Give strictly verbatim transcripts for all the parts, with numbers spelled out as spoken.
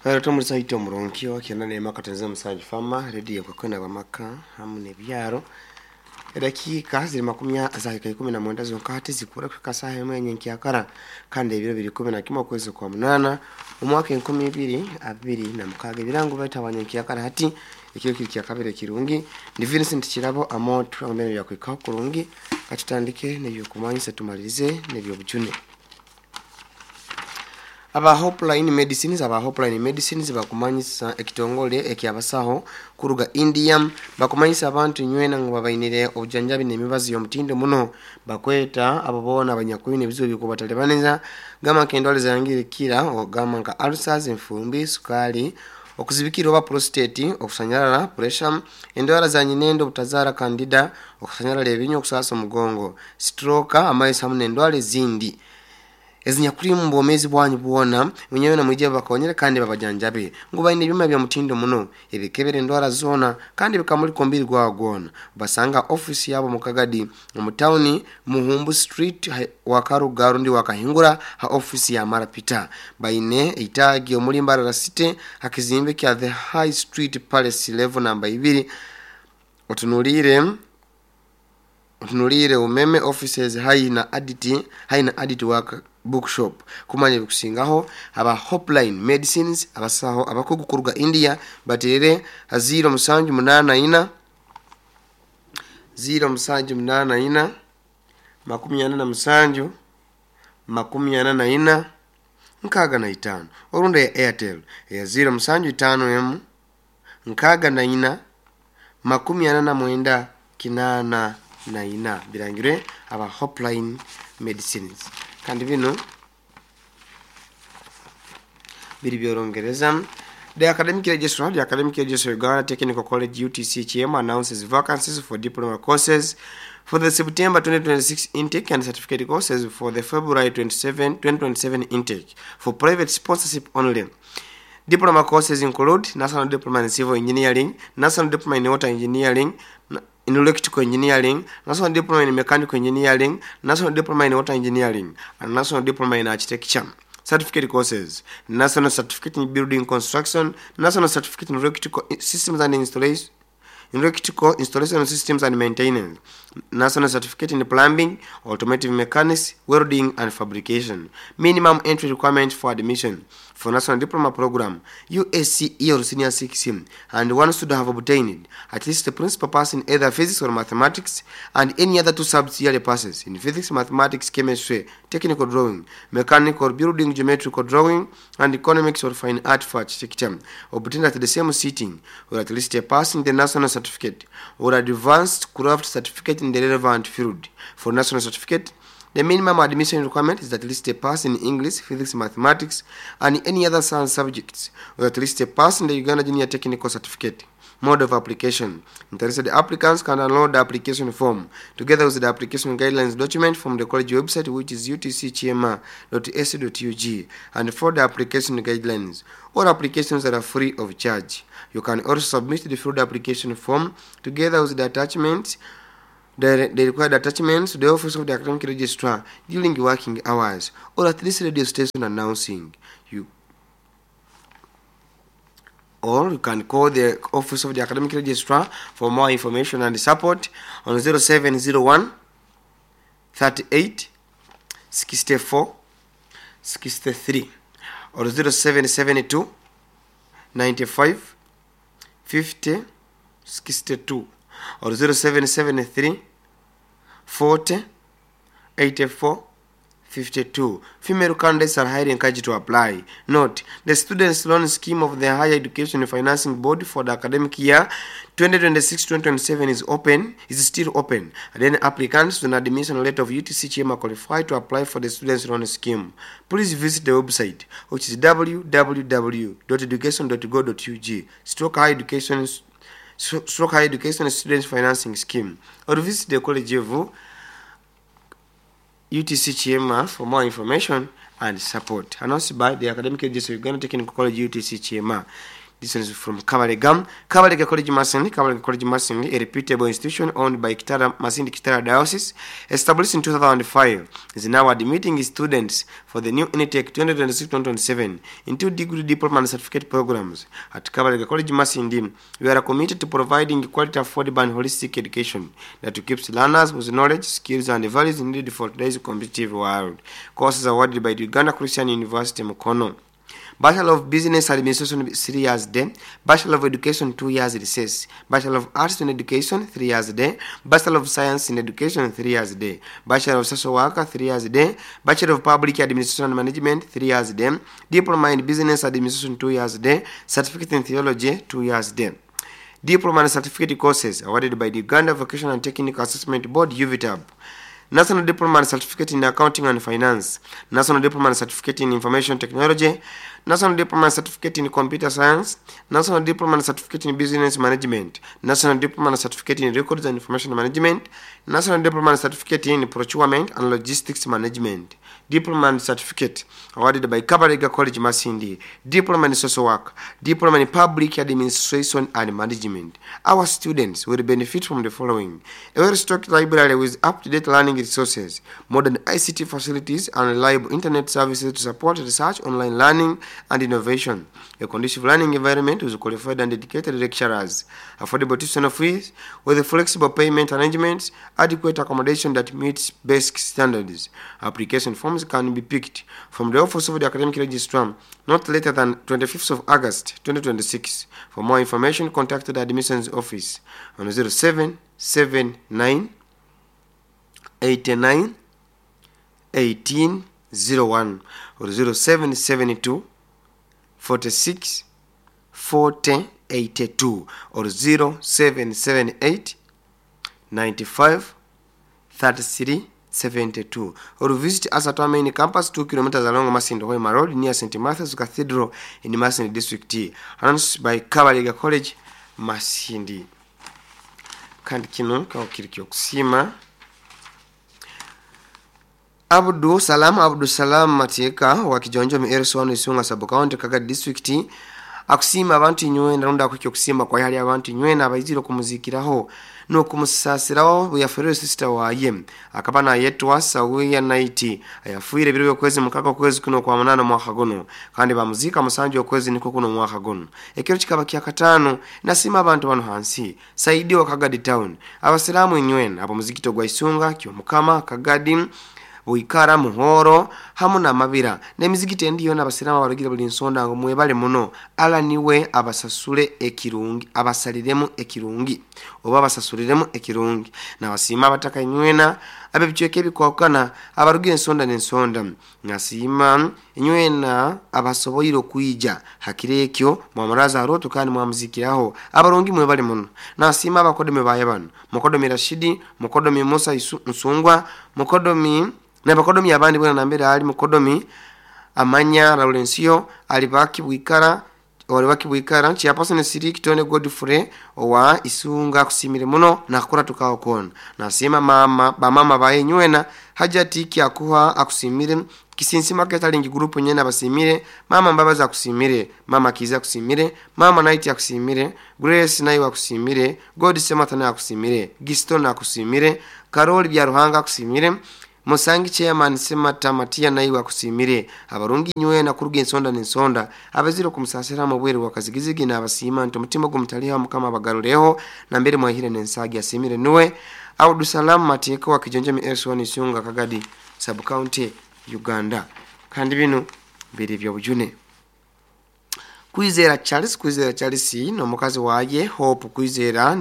Twari ito omurungi wakyenda neema katenze musanju fama rediyo kwakwena bamaka hamu nebyaro edakiika ziri makumi zahika ikumi na mwenda zonka hati zikura kufika saha emwe nyenkyakara kandi ebiro biri kumi na kimwe okwezi kwa munana omwaka enkumi ibiri abiri na mukaaga. Ebirango baita nyenkyakara hati ekiro kiri kya kabiri kirungi. Ndi Vincent Kirabo amo twangombe byakwikaho kurungi, katutandike nebyokumanyisa tumalirize nebyobujune. Aba Hopeline Medicines aba Hopeline Medicines bakumanyisa ekitongole ekyabasaho kuruga India, bakumanyisa abantu nywena ngo babainire obujanjabi n'emibazi y'omutindo muno, bakweta abo boona abanyakwine ebizibu bikubatalibaniza gamba nk'endwara zangirikira ogamba nka ulcers, enfumbi, sukali, okuzibikira oba prostate, okusanyalala, pressure, endwara za nyinendo, obutazaara, candida, okusanyalala ebinywa, okusasa omugongo, stroke, amaiso hamu n'endwara ezindi ezinyakuri mu bwomezi bwanyu bwona. Mwenyewe na mwije bakonyere kandi babajanjabe ngu baine ebyuma bya mutindo muno ebikebera endwara zona kandi bikamulika omubiri gwawo gwona. Basanga ofisi yabo mukagadi mu tawuni Muhumbu Street Wakaruga rundi Wakahingura ha ofisi ya Marapita. Baine eitagi omuli Mbarara City hakizimbe kya The High Street Palace level namba ibiri. Otunulire otunulire umeme offices hai na aditi hai na aditi waka bookshop kumanya bikusingaho. Aba Hopeline Medicines abasaho abakugu kuruga India baterere ziro musanju munana ina ziro musanju munana ina makumi ana na musanju makumi ana na ina nkaaga na itaano, orunda ya Airtel ya ziro musanju itaano emu nkaaga na ina makumi ana na mwenda kinana na ina. Birangirwe aba Hopeline Medicines. Kandi bino biri byorongereza. The Academic Registrar, the Academic Registrar Uganda Technical College U T C H M announces vacancies for diploma courses for the September twenty twenty-six intake and certificate courses for the February twenty-seven, twenty twenty-seven intake for private sponsorship only. Diploma courses include National Diploma in Civil Engineering, National Diploma in Water Engineering, in Electrical Engineering, National Diploma in Mechanical Engineering, National Diploma in Water Engineering, and National Diploma in Architecture. Certificate courses: National Certificate in Building Construction, National Certificate in Electrical Systems and Installation, Electrical Installation Systems and Maintenance, National Certificate in Plumbing, Automotive Mechanics, Welding and Fabrication. Minimum entry requirement for admission for National Diploma Program, U S C E or Senior six, and one should have obtained at least the principal pass in either physics or mathematics and any other two sub-yearly passes in physics, mathematics, chemistry, technical drawing, mechanical, building, geometrical drawing, and economics or fine art for architecture, obtained at the same sitting, or at least a pass in the national certificate or advanced craft certificate in the relevant field. For national certificate, the minimum admission requirement is at least a pass in English, physics, mathematics, and any other science subjects, or at least a pass in the Uganda Junior Technical Certificate. Mode of application. Interested applicants can download the application form together with the application guidelines document from the college website, which is U T C H M dot A C dot U G, and for the application guidelines. All applications are free of charge. You can also submit the filled application form together with the attachments, the, the required attachments to the office of the academic registrar during working hours, or at this radio station announcing you. Or you can call the office of the academic registrar for more information and support on zero seven zero one thirty-eight sixty-four sixty-three or zero seven seven two ninety-five fifty sixty-two or zero seven seven three forty eighty-four fifty-two. Female candidates are highly encouraged to apply. Note, the Students' Loan Scheme of the Higher Education Financing Board for the academic year twenty twenty-six twenty twenty-seven is open, is still open. And then applicants with an admission letter of U T C H M are qualified to apply for the Students' Loan Scheme. Please visit the website, which is w w w dot education dot go dot u g stroke higher education stroke higher education students financing scheme, or visit the College of U T C H M for more information and support. Announced by the Academic Agency of Uganda Technical College U T C H M. This is from Kabalega. Kabalega College Masindi. Kabalega College Masindi, a reputable institution owned by Kitara, Masindi Kitara Diocese, established in two thousand five, is now admitting students for the new intake twenty twenty-six twenty twenty-seven into degree, diploma and certificate programs. At Kabalega College Masindi, we are committed to providing quality, affordable and holistic education that equips learners with knowledge, skills and values needed for today's competitive world. Courses awarded by the Uganda Christian University, Mukono. Bachelor of Business Administration, three years day. Bachelor of Education, two years recess. Bachelor of Arts in Education, three years day. Bachelor of Science in Education, three years day. Bachelor of Social Worker, three years day. Bachelor of Public Administration and Management, three years day. Diploma in Business Administration, two years day. Certificate in Theology, two years day. Diploma and Certificate courses awarded by the Uganda Vocational and Technical Assessment Board, U V T A B. National Diploma and Certificate in Accounting and Finance, National Diploma and Certificate in Information Technology, National Diploma and Certificate in Computer Science, National Diploma and Certificate in Business Management, National Diploma and Certificate in Records and Information Management, National Diploma and Certificate in Procurement and Logistics Management, Diploma and Certificate awarded by Kabalega College Masindi, Diploma in Social Work, Diploma in Public Administration and Management. Our students will benefit from the following: a well-stocked library with up-to-date learning resources, modern I C T facilities and reliable internet services to support research, online learning and innovation, a conducive learning environment with qualified and dedicated lecturers, affordable tuition fees with flexible payment arrangements, adequate accommodation that meets basic standards. Application forms can be picked from the office of the academic registrar not later than twenty-fifth of August twenty twenty-six. For more information, contact the admissions office on zero seven seven nine eighty-nine eighteen zero one or zero seven seven two forty-six forty eighty-two or zero seven seven eight ninety-five thirty-three seventy-two, or visit us at our main campus two kilometers along Masindi Hoima Road near Saint Matthew's Cathedral in Masindi District. Announced by Kabalega College Masindi. Kandi kino kiri kyokusima Abdu Salam Abdu Salam Mateka wa Kijonjo Mieriso Isunga Sub County Kaga District akusima abantu inywe narunda kukyo kusima kwa hali abantu inywe nabayiziro kumuzikiraho no kumusasiraho buyaferere sister waye akabana yetwa Sawiya Night ayafuire biro kwezi mukaka kwezi kuno kwa munano mwaka gono kandi bamuzika musanju okwezi niko kuno mwaka gono ekero kikaba kya katano nasima abantu bano hansi Saidi wa Kagadi Town abasilamu inywe abo muzikito gwa Isunga kyo mukama Kagadi Buikara muhoro hamu na mabira n'emizikiti endiyo n'abasiraamu abarugira buli nsonda ngo mwebale muno ala niwe abasasule ekirungi abasaliremu ekirungi oba abasasuliremu ekirungi n'abasiima abataka inywena ab'ebicweka ebikwakana abarugira ensonda n'ensonda nasiima inywena abasoboire okwija hakiri ekyo mwamuraza aroto kandi mwamuzikiraho abarungi mwebale muno nasiima abakodomi baye bano mukodomi Rashidi mukodomi Musa Nsungwa mukodomi na bakodomi abandi bwana nambere ali mukodomi Amanya Laurencio alibaki Bwikara walibaki Bwikara chiapasone Siri Kitone Godfrey owa Isunga kusimire muno na kukora tukao kona nasema mama ba mama baye nywena Hajati kyakuha akusimire Kisinsima ketalingi group nyena basimire mama Mbabaza akusimire mama Kiza akusimire mama Night akusimire Grace nayo akusimire God Sematana akusimire Gistona akusimire Karoli Byaruhanga akusimire Musangi chairman Semata Matia nayo akusimire abarungi nywe na kuruga ensonda n'ensonda abaziro kumusasira mu bweru wakazigizigi n'abasima nti omutima gumutaliha mukama abagaruleho na mbere mwahire n'ensagi asimire nuwe Abdu Salam Mateka wa Kijonjo S one Isunga Kagadi Sub County Uganda kandi bino biri byo bujune Kwizera Charles Kwizera Charles no mukazi waye Hope Kwizera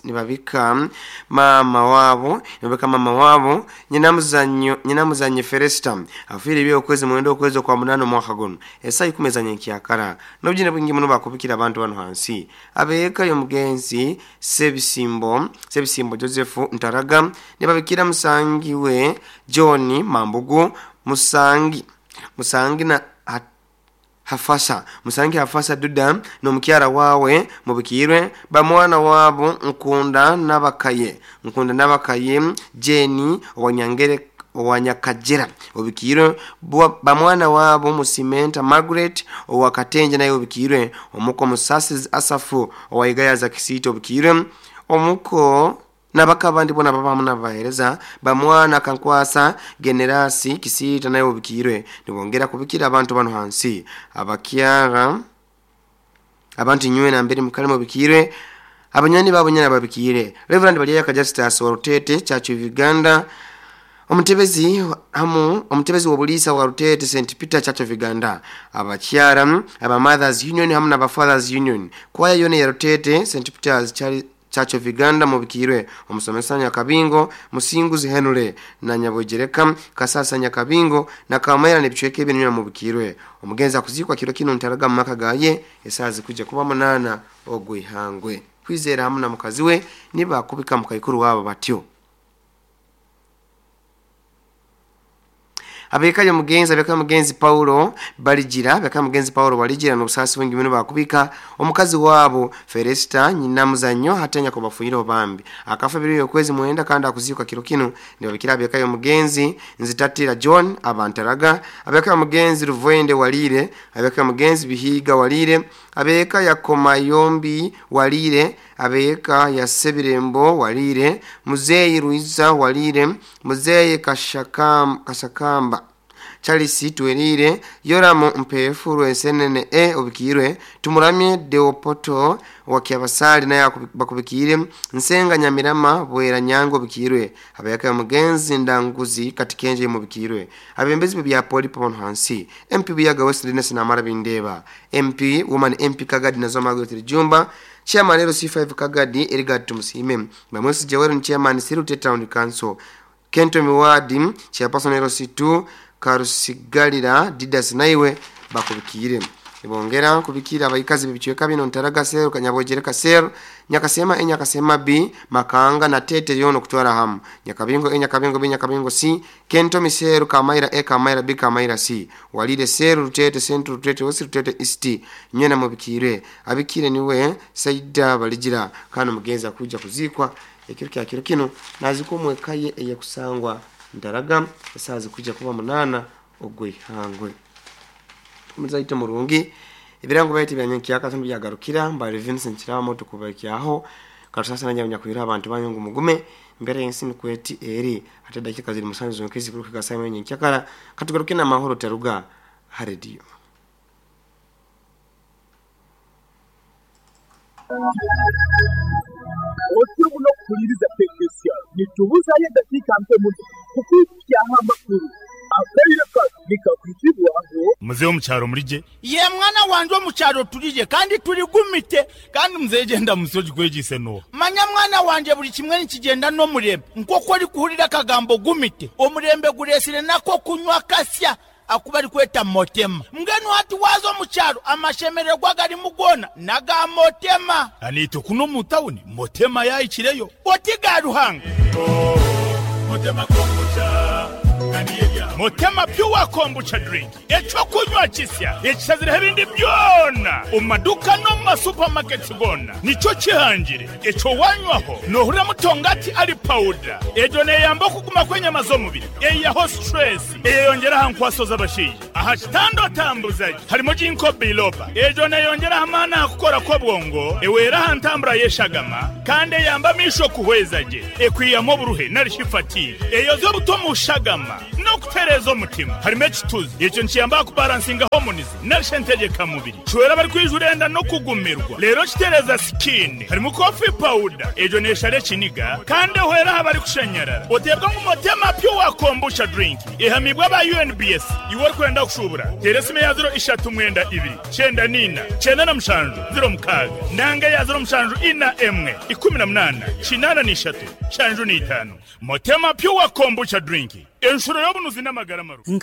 nibabika mama wabo nibabika mama wabo nyinamuzanyo nyinamuzanye Feresta afire byo kwezi mwendo kwezi kwa munano mwaka gono esa ikumezanye kyakara nobjine bwingi muno bakubikira abantu bano hansi abeka yo mugenzi Sebisimbo Sebisimbo Joseph Ntaraga nibabikira musangi we John Mambugu Musangi Musangi na hat, Hafasa Musangi Hafasa Duda no mukyara wawe mubikirwe bamwana wabo Nkunda nabakaye Nkunda nabakaye Jenny wanyangere owa Nyakajera obikirwe, bamwana wabo Musimenta Margaret owa Katenje naye obikirwe, omuko Musasizi Asafu owa Igayaza Kisito obikirwe, omuko nabakabandi bona babamu nabahereza bamwana Kankwasa Generasi Kisita naye obikirwe. Nibongera kubikira abantu bano hansi abakyara abantu nywe na mbere mukalimo bikirwe, abanyani babo nyana babikire. Reverend Baliya Kajastas wa Rutete Church of Uganda, omutebezi hamu omutebezi wa bulisa wa Rutete Saint Peter Church of Uganda, abakyara aba Mothers Union hamu na Fathers Union, kwaya yone ya Rutete Saint Peter's Church of Uganda mubikirwe, omusomesa Nyakabingo Musinguzi Henry na Nyabojereka Kasasa Nyakabingo na Kamera nebichweke ebinyo mubikirwe. Omugenzi akuzikwa kiro kino ntaraga maka gaye esazi kuja kuba munana ogwihangwe. Kwizera hamu na mukazi we niba kubika mukaikuru wabo batyo. Abekaje mugenzi abeka mugenzi Paulo Balijira abeka mugenzi Paulo Balijira n'obusasi bwingi bino bakubika omukazi wabo Felista nyina muzanyo hatenya ko bafunyira obambi akafa biri okwezi mwenda kandi akuzikwa kiro kino. Nibabikira abekayo mugenzi Nzitatira John abantaraga, abeka mugenzi Ruvende Walire, abeka mugenzi Bihiga Walire, abeka Yakoma Yombi Walire, abeka ya Sebirembo Walire, Muzeyi Ruiza Walire, Muzeyi Kashakam Kashakamba Charles Tuwerire, Yoramu Mpefu Rwensenene e obikirwe, Tumuramye Deopoto wa Kiabasali naye bakubikire, Nsenga Nyamirama Bwera Nyango obikirwe, abeka mugenzi Ndanguzi Katikenje mubikirwe, abembezi bya Poli Pomon hansi, M P Buyaga West Dines na Mara Bindeba, M P Woman M P Kagadi na Zoma Gotri Jumba, Chairman L C five Kagadi Erigad Tumusime, Bamusi Jawero Chairman Sirute Town Council, Kento Miwadi Chairperson L C two Karusigalira Didas naiwe bakubikire. Ibongera kubikira abayikazi bibichweka bino ntaraga seru Kanyabojereka seru Nyakasema e Nyakasema B Makanga na Tete yono kutwara hamu Nyakabingo e Nyakabingo B Nyakabingo C Kento Miseru Kamaira e Kamaira B Kamaira C Walire seru Rutete Central Rutete West Rutete East nyena mubikire. Abikire niwe Saida Balijira kana mugenza kuja kuzikwa ekiro kya kiro kino nazikomwekaye eye kusangwa ndaraga esazi kuja kuba munana ogwihangwe. Muzaite murungi ebirango bayite byanyenki akatumbi byagarukira mbali Vincent Kiramo tukubakyaho katusasa nanya nyakwira abantu banyungu mugume mbere yensi nkweti eri ate dakika ziri musanzu zonkezi kuruka gasame nyenki akara katugaruke na mahoro taruga ha radio. Otyo muno kuliriza tekinisiya nitubuzayo eddakiika mpe muno kukwikyaho amakulu Mzee omukyalo mulije ye mwana wanje omukyalo tulije kandi tuligumite kandi mzee genda musoji kwegise no manya mwana wanje buli kimwe nikigenda n'omurembe nk'oku ori kuhurira akagambo gumite omurembe guresire nako kunywa kasya akuba rikweta motema mbwenu hati waza omukyalo amashemererwa garimu gona naga motema anito kuno mu tawuni motema yayikireyo oti ga Ruhanga motema kombucha Motema pure kombucha drink ekyokunywa kisya ekisazire ebindi byona omumaduka no mu masupermarkets gona nikyo kihangire ekyo wanywaho nohurira mutongati ari powder ejo neyamba okuguma kw'enyama z'omubiri eyaho stress eyeyongera aha nkwaso z'abashaija aha kitando tambuzaji harimo ginkgo biloba ejo neyongera amaani aha kukora kw'obwongo ewera aha ntambura y'eshagama kandi eyamba amisho kuhweza gye ekwiyamu oburuhe nari fatigue eyoza obuto mu shagama no kutereza omutima harimo ekituzi ekyo nikiyamba kubalansinga hormones narisha entegeka mubiri kiwera bari kwijurenda no kugumirwa rero kitereza skin harimo coffee powder ejo neshare ekiniga kandi ehwera aha bari kushanyarara otebwa ngu Motema pure kombucha drink ehamibwa aba U N B S iwe orikwenda kushubura tera esimu ya ziro ishatu mwenda ibiri kyenda nina kyenda na mushanju ziro mukaaga nanga ya ziro mushanju ina emwe ikumi na munana kinana n'ishatu shanju n'itaano Motema pure kombucha drink enshuro y'obunuzi n'amagara maru.